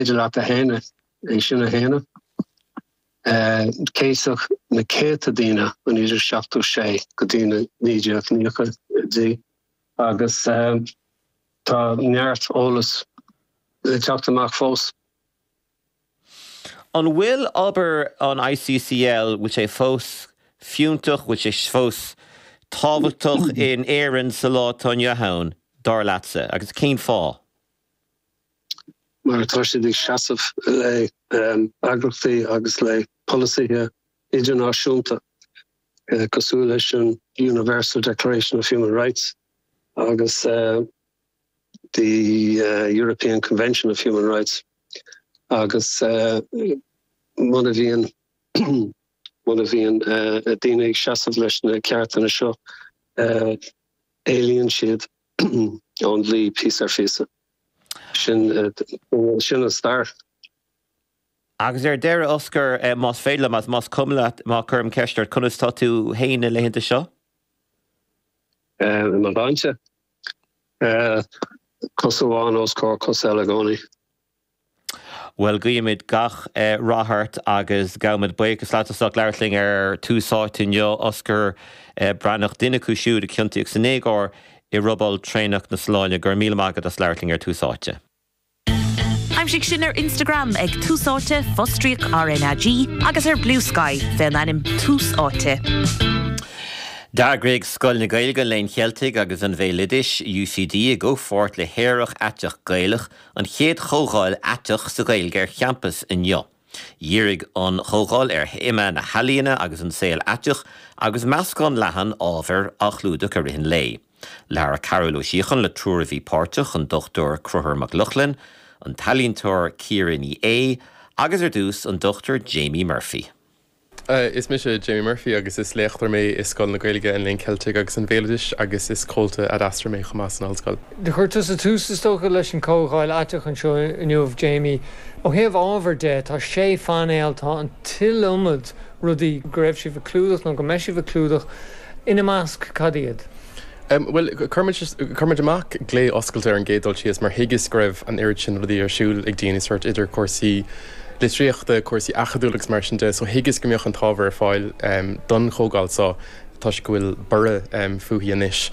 féidir leat a shéanadh, é sin a shéanadh. Céasadh na céadta daoine ó 1976 go dtí na 1990idí agus tá neart eolas le teacht amach fós. An bhfuil obair an ICCL, bhfuil sé fós fiúntach, bhfuil sé fós tábhachtach in Éirinn sa lá atá inniu ann, dar leatsa, agus cén fáth? Mar tá siad ag seasamh le eagrachtaí agus le polasaithe idirnáisiúnta cosúil leis an Universal Declaration of Human Rights agus the European Convention of Human Rights agus muna bhíonn muna bhíonn daoine ag seasamh leis na ceartanna seo éalaíonn siad ón dlí píosa ar phíosa. Sin sin an stair. Agus ar deireadh, Osgur, más féidir liom, más cuma leat má chuirim ceist ort, conas tá tú féin na laethanta seo? I mo shláinte. Cos amháin os comhair cos eile i gcónaí. Bhuel, guímid gach rath ort agus gabhaimid buíochas leat as ucht labhairt linn ar Tús Áite inniu, Osgur Breathnach, duine acu siúd a ciontaíodh san éagóir i robáil traenach na Sollán. Go raibh míle maith agat as labhairt linn ar Tús Áite. Aimsigh sinn ar Instagram ag Tús Áite, fostríoc RnaG, agus ar Bluesky fén ainm Tús Áite. D'eagraigh Scoil na Gaeilge, an Léinn Cheiltigh agus an Bhéaloidis, UCD, i gcomhpháirt le hAerach Aiteach Gaelach, an chéad chomhdháil aiteach sa Ghaeilge ar champas inniu. Dhírigh an chomhdháil ar théama na healaíona agus an saol aiteach agus meascán leathan ábhair á chlúdach i rith an lae. Labhair Cearbhall Ó Síocháin le triúr a bhí páirteach, an Dr Conchúr Mac Lochlainn, an t-ealaíontóir Ciara Ní É agus ar dtús an Dr Jamie Murphy. Is mise Jamie Murphy agus is léachtóir mé i Scoil na Gaeilge, an Léinn Cheiltigh agus an Bhéaloidis agus is comhalta Ad Astra mé chomh maith san Ollscoil. Chuir tusa tús, is dócha, leis an chomhdháil aiteach anseo inniu, Jamie. Ó thaobh ábhair de, tá sé phainéal, tá an t-iliomad rudaí go raibh sibh ag clúdach nó go mbeidh sibh ag clúdach. Ina measc, cad iad? Bhuel, chuir muid, chuir muid amach glao oscailte ar an gcéad dul síos mar thuigeas go raibh an oiread sin rudaí ar siúl ag daoine, sórt idir cúrsaí litríochta, cúrsaí acadúla agus mar sin de, so thuigeas go mbeadh an t-ábhar ar fáil don chomhdháil seo toisc go bhfuil borradh fúithi anois.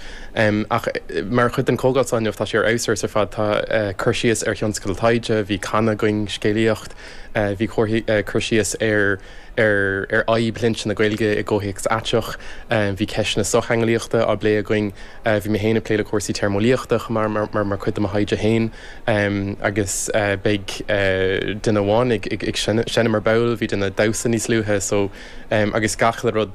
Ach mar chuid den chomhdháil seo inniu, tá sé ar fheabhas ar fad, tá cur síos ar thionscadal taighde, bhí canadh againn, scéalaíocht, bhí cur síos ar, ar ar fhadhb shloinnte na Gaeilge i gcomhthéacs aiteach. Bhí ceisteanna sochtheangeolaíochta á bplé againn. Bhí mé féin ag plé le cúrsaí téarmeolaíochta chomh maith mar mar chuid de mo thaighde féin agus beidh duine amháin ag ag seinm ar ball, bhí duine ag damhsa níos luaithe so agus gach uile rud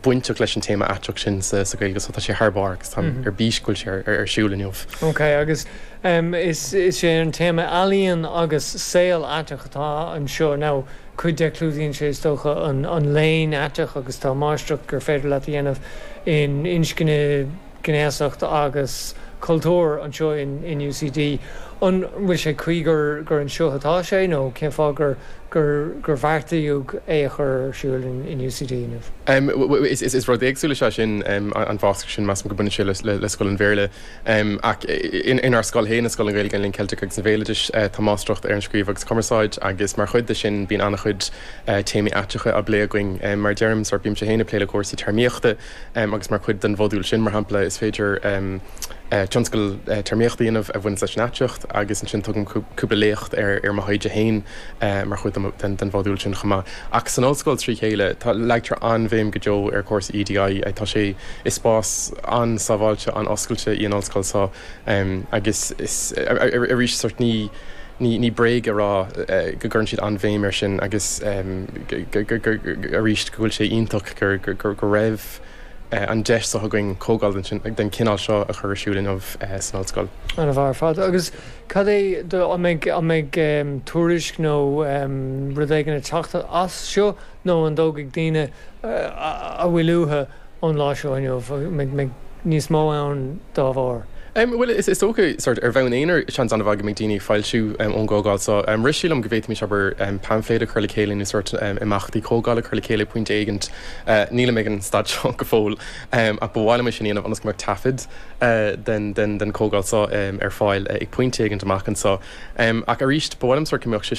bainteach leis an téama aiteach sin sa sa Ghaeilge so tá sé thar barr agus táim ar bís go bhfuil sé ar ar siúl inniu. Ok agus is is é an téama ealaíon agus saol aiteach atá anseo now. Cuid de, clúdaíonn sé, is dócha, an léann aiteach agus tá máistreacht gur féidir leat a dhéanamh in inscne, gnéasacht agus cultúr anseo in UCD. An bhfuil sé cuí gur anseo atá sé nó cén fáth gur gur bheartaíodh é a chur ar siúl in UCD inniu? Is rud éagsúil is ea sin, an mháistreacht sin, measaim go mbaineann sé le Scoil an Bhéarla. Ach inár scoil féin, i Scoil na Gaeilge, an Léinn Cheiltigh agus an Bhéaloidis, tá Máistreacht ar an Scríobh agus Cumarsáid agus mar chuid de sin bíonn an-chuid téamaí aiteacha á bplé againn. Mar a deirim, sórt bímse féin ag plé le cúrsaí téarmaíochta agus mar chuid den mhodúl sin, mar shampla, is féidir tionscadal téarmaíochta a dhéanamh a bhaineanns leis an aiteacht agus ansin tugaim cúpla léacht ar mo thaighde féin mar chuid den mhodúl sin chomh maith. Ach san ollscoil trí chéile, tá, leagtar an-bhéim go deo ar chúrsaí EDI. Tá sé, is spás an-sábháilte, an-oscailte í an ollscoil seo agus is, arís, sórt ní, ní, ní bréag a rá go gcuireann siad an-bhéim air sin agus arís go bhfuil sé iontach gur, gur, go raibh an deis seo againn comhdháil den, den chineál seo a chur ar siúl inniu san ollscoil. An-mhaith ar fad. Agus cad é do, an mbeidh, an mbeidh tuairisc nó rud éigin ag teacht as seo nó an dtógfaidh daoine a bhfuil uathu ón lá seo inniu? An mbeidh níos mó ann dá bharr? Bhuel, is dócha, sort, ar bhonn aonair, seans an-mhaith go mbeidh daoine ag foilsiú ón gcomhdháil seo. Rith sé liom go bhféadfaimis, abair, paimfléad a chur le chéile nó sort imeachtaí comhdhála a chur le chéile ag pointe éigint. Nílim ag an staid seo go fóill, ach ba mhaith liom é sin a dhéanamh ionas go mbeadh taifead den chomhdháil seo ar fáil ag pointe éigint amach anseo. Ach arís, ba mhaith liom sort go mbeadh sé.